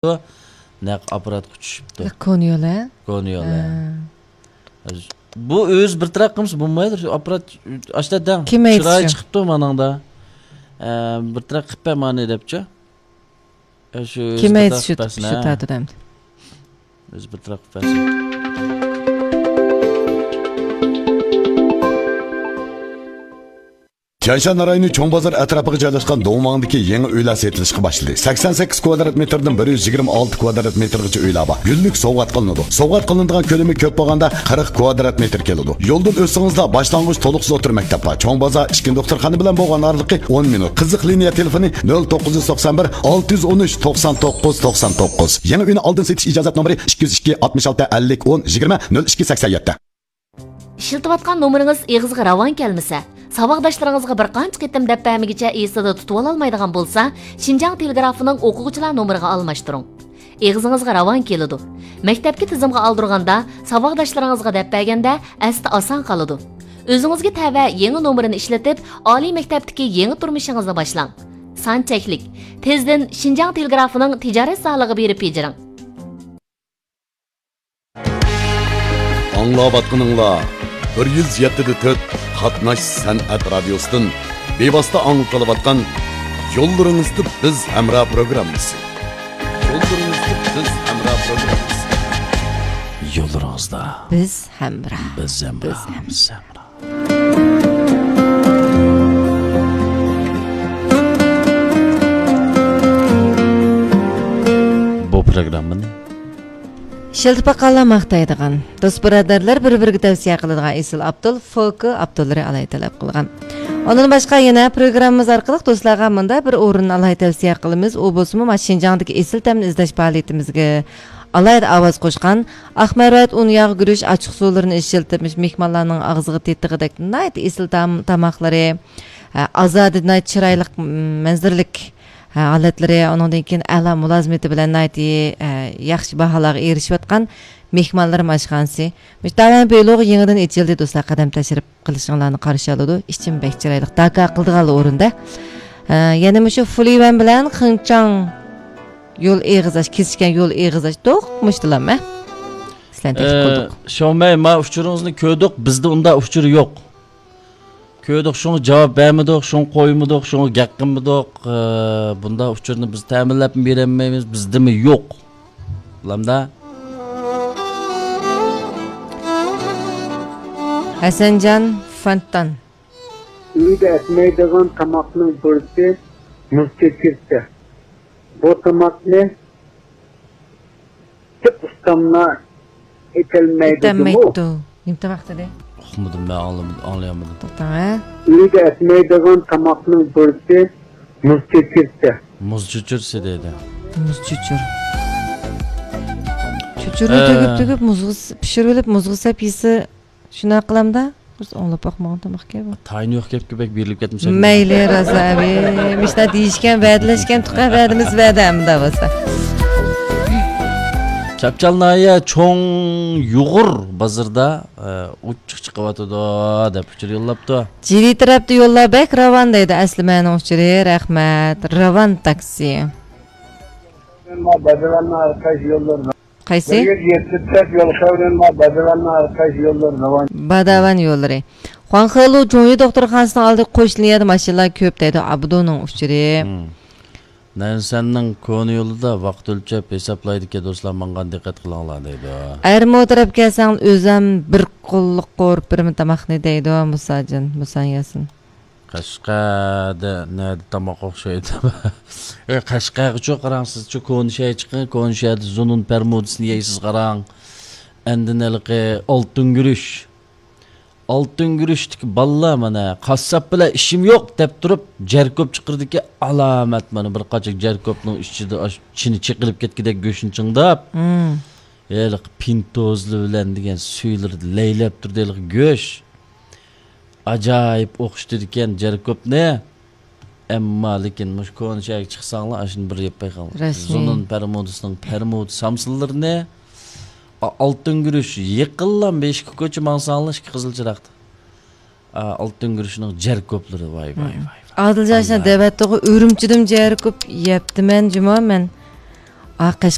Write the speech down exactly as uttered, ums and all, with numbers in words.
نەق ئاپپاراتقا چۈشۈپتۇ. كونا يول، ھە؟ كونا يول، ھە. ھە. بۇ ئۆزى بىر تەرەپ قىلمىسا بولمايدۇ، شۇ ئاپپارات ئاشتا دەڭ. كېمەيتىش چىرايى شۇ. چىقىپتۇ مانىڭدا. ئە، بىر تەرەپ قىلىپ بەر مانى دەپچۇ. ئە، شۇ ئۆزى بىر كېمەيتىش تەرەپ شۇ، قىلىپ بەرسۇن، شۇ ھە. تارتىدۇ ئەمدى. ئۆزى بىر تەرەپ قىلىپ بەرسۇن. تيەنشان رايونى چوڭ بازار ئەتراپىغا جايلاشقان دۇڭۋاڭدىكى يېڭى ئۆيلەر سېتىلىشقا باشلىدى. سەكسەن سەككىز كۋادرات مېتىردىن بىر يۈز يىگىرمە ئالتە كۋادرات مېتىرغىچە ئۆيلەر بار. گۈللۈك سوۋغات قىلىنىدۇ. سوۋغات قىلىنىدىغان كۆلىمى كۆپ بولغاندا قىرىق كۋادرات مېتىر كېلىدۇ. يولدىن ئۆتسىڭىزلا باشلانغۇچ تولۇقسىز ئوتتۇرا مەكتەپ بار. چوڭ بازار، ئىچكى دوختۇرخانا بىلەن بولغان ئارىلىقى ئون مىنۇت. قىزىق لىنىيە تېلېفونى نۆل توققۇز يۈز توقسان بىر، ئالتە يۈز ئون ئۈچ، توقسان توققۇز، توقسان توققۇز. يېڭى ئۆينى ئالدىن سېتىش ئىجازەت نومۇرى ئىككى يۈز ئىككى، ئاتمىش ئالتە، ئەللىك، ئون، يىگىرمە، نۆل ئىككى، سەكسەن يەتتە. ئىشلىتىۋاتقان نومۇرىڭىز ئېغىزغا راۋان كەلمىسە، ساۋاقداشلىرىڭىزغا بىر قانچە قېتىم دەپ بەرمىگىچە ئېسىدە تۇتۇۋالالمايدىغان بولسا، شىنجاڭ تېلېگرافىنىڭ ئوقۇغۇچىلار نومۇرىغا ئالماشتۇرۇڭ. ئېغىزىڭىزغا راۋان كېلىدۇ. مەكتەپكە تىزىمغا ئالدۇرغاندا، ساۋاقداشلىرىڭىزغا دەپ بەرگەندە ئەستە ئاسان قالىدۇ. ئۆزىڭىزگە تەۋە يېڭى نومۇرىنى ئىشلىتىپ، ئالىي مەكتەپتىكى يېڭى تۇرمۇشىڭىزنى باشلاڭ. سان چەكلىك. تېزدىن شىنجاڭ تېلېگرافىنىڭ تىجارەت زالىغا بېرىپ بېجىرىڭ. ئاڭلاۋاتقىنىڭلار بىر يۈز يەتتە دە تۆت قاتناش سەنئەت رادىيوسىدىن بىۋاسىتە ئاڭلىتىلىۋاتقان يوللىرىڭىزدا بىز ھەمراھ پروگراممىسى. يوللىرىڭىزدا بىز ھەمراھ پروگراممىسى. يوللىرىڭىزدا بىز ھەمراھ. بىز ھەمراھ. بىز ھەمراھ. بىز ھەمراھ. بۇ پروگراممىنى ئىشلىتىپ باققانلار ماختايدىغان، دوست بۇرادەرلەر بىر-بىرىگە تەۋسىيە قىلىدىغان ئېسىل ئابدۇل فولكى ئابدۇللىرى ئالاھىدە تەلەپ قىلغان. ئۇنىڭدىن باشقا يەنە پروگراممىمىز ئارقىلىق دوستلارغا مۇنداق بىر ئورۇننى ئالاھىدە تەۋسىيە قىلىمىز، ئۇ بولسىمۇ مانا شىنجاڭدىكى ئېسىل تەمنى ئىزدەش پائالىيىتىمىزگە ئالاھىدە ئاۋاز قوشقان، ئاق مەرۋەت، ئۇن ياغ، گۈرۈچ، ئاچچىق سۇلىرىنى ئىشلىتىپ، مۇشۇ مېھمانلارنىڭ ئاغزىغا تېتىغۇدەك ناھايىتى ئېسىل تام-، تاماقلىرى، ھە، ئازادە ناھايىتى چىرايلىق، م-، مەنزىرىلىك، ھە، ھالەتلىرى، ئۇنىڭدىن كېيىن ئەلا مۇلازىمىتى بىلەن ناھايىتى، ھە، ياخشى باھالارغا ئېرىشىۋاتقان مېھمانلىرىم ئاشخانىسى. مۇشۇ داۋەن بىلوغ يېڭىدىن ئېچىلدى، دوستلار، قەدەم تەشرىپ قىلىشىڭلارنى قارشى ئالىدۇ. ئىچىم بەك چىرايلىق، داكا قىلىدىغانلا ئورۇندا. ھە، يەنە مۇشۇ فۇلىۋەن بىلەن خېڭچاڭ يول ئېغىز ئاچ، كېسىشكەن يول ئېغىز ئاچ، دوق مۇشتىلام، ھە؟ سىلەرنى تەكلىپ ئە، قىلدۇق. شاۋمەي، ما ئۇچۇرىڭىزنى كۆردۇق، بىزدە ئۇنداق ئۇچۇر يوق. كۆردۇق، شۇڭا جاۋاب بەرمىدۇق، شۇڭا قويمىدۇق، شۇڭا گەپ قىلمىدۇق. ئە، بۇنداق ئۇچۇرنى بىز تەمىنلەپمۇ بېرەلمەيمىز، بىزدىمۇ يوق. بىلەمدە؟ ھەسەنجان فانتان. ئۆيدە ئەتمەيدىغان تاماقنىڭ بىرسى مۇز چۆچۈرىسى. بۇ تاماقنى تىپ ئۇستاملار ئېتەلمەيدۇ جۇمۇ. ئېتەلمەيدۇ. نېمە تاماق دېدى؟ ئۇقمىدىم، مەن ئاڭلىمىدىم، ئاڭلىيالمىدىم. توختاڭ، ھە؟ ئۆيدە ئەتمەيدىغان تاماقنىڭ بىرسى مۇز چۆچۈرىسى. مۇز چۆچۈرىسى دەيدۇ. مۇز چۆچۈر. چۆچۈرنى ئە. تۈگۈپ، تۈگۈپ، مۇزغا س-، پىشۇرۇۋېلىپ، مۇزغا سەپ يېسە، شۇنداق قىلامدا؟ بىز ئاڭلاپ باقمىغان تاماقكەن بۇ. تايىنى يوق گەپكە بەك بېرىلىپ كەتمىسەك. مەيلى، رازا ئەبى. مۇشۇنداق دېيىشكەن، ۋەدىلەشكەن، تۇقا ۋەدىمىز ۋەدە ئەمدى بولسا. چاپچال ناھىيە چوڭ يۇغۇر بازىرىدا، ئە، ئوچۇق چىقىۋاتىدۇ، دەپ ئۇچۇر يوللاپتۇ. جىلى تەرەپتە يوللار بەك راۋان دەيدۇ، ئەسلىمەنىڭ ئۇچۇرى، رەھمەت. راۋان تاكسى. قايسى؟ باداۋان يوللىرى. خۇاڭخېلۇ جۇڭيى دوختۇرخانىسىنىڭ ئالدىدا قوش لىنىيەدە ماشىنىلار كۆپ دەيدۇ، ئابدۇنىڭ ئۇچۇرى. مم. نەنسەننىڭ كونا يولىدا ۋاقىت ئۆلچەپ ھېسابلايدىكەن، دوستلار، ماڭغان دىققەت قىلىڭلار دەيدۇ. ئەرمۇ تەرەپكە كەلسەڭ ئۆزەم بىر قوللۇق قورۇپ بېرىمەن تاماقنى دەيدۇ، مۇساجىن، مۇسان ياسىن. قەشقەردە نەدە تاماق ئوخشايدۇ؟ ئەي، قەشقەرگىچۇ قاراڭ، سىزچۇ كونا شەھەر چىقىڭ، كونا شەھەردە زۇنۇن پەرمۇدىسىنى يەيسىز قاراڭ. ئاندىن ھېلىقى ئالتۇن گۈرۈچ. ئالتۇن گۈرۈچتىكى بالىلار مانا، قاسساپ بىلەن ئىشىم يوق دەپ تۇرۇپ، جەركوب چىقىرىدىكى ئالامەت مانا بىر قاچا جەركوبنىڭ ئىچىدە ئاش-، چىنى چېقىلىپ كەتكۈدەك گۆشنى چىڭداپ. مم. ھېلىقى پىنتوزلار بىلەن دېگەن سۈيلىرىدە لەيلەپ تۇرىدۇ ھېلىقى گۆش. ئاجايىپ ئوخشىتىدىكەن جەركوبنى. ئەمما لېكىن مۇشۇ كونا شەھەرگە چىقساڭلار، ئاشۇنى بىر يەپ بايقاڭلار. رەسمىي. زۇنۇن پەرمۇدىسىنىڭ پەرمۇد سامسىلىرىنى، ئا-، ئالتۇن گۈرۈچ يېقىنلا بېشىكى كوچا ماڭساڭلار، ئىككى قىزىل چىراغدا. ئا، ئالتۇن گۈرۈچنىڭ جەركوبلىرى، ۋاي، ۋاي، ۋاي. ئادىلجان شۇنداق دەۋەتتىغۇ، ئۈرۈمچىدىن جەركوب يەپتىمەن جۇمۇ مەن. ئاقەش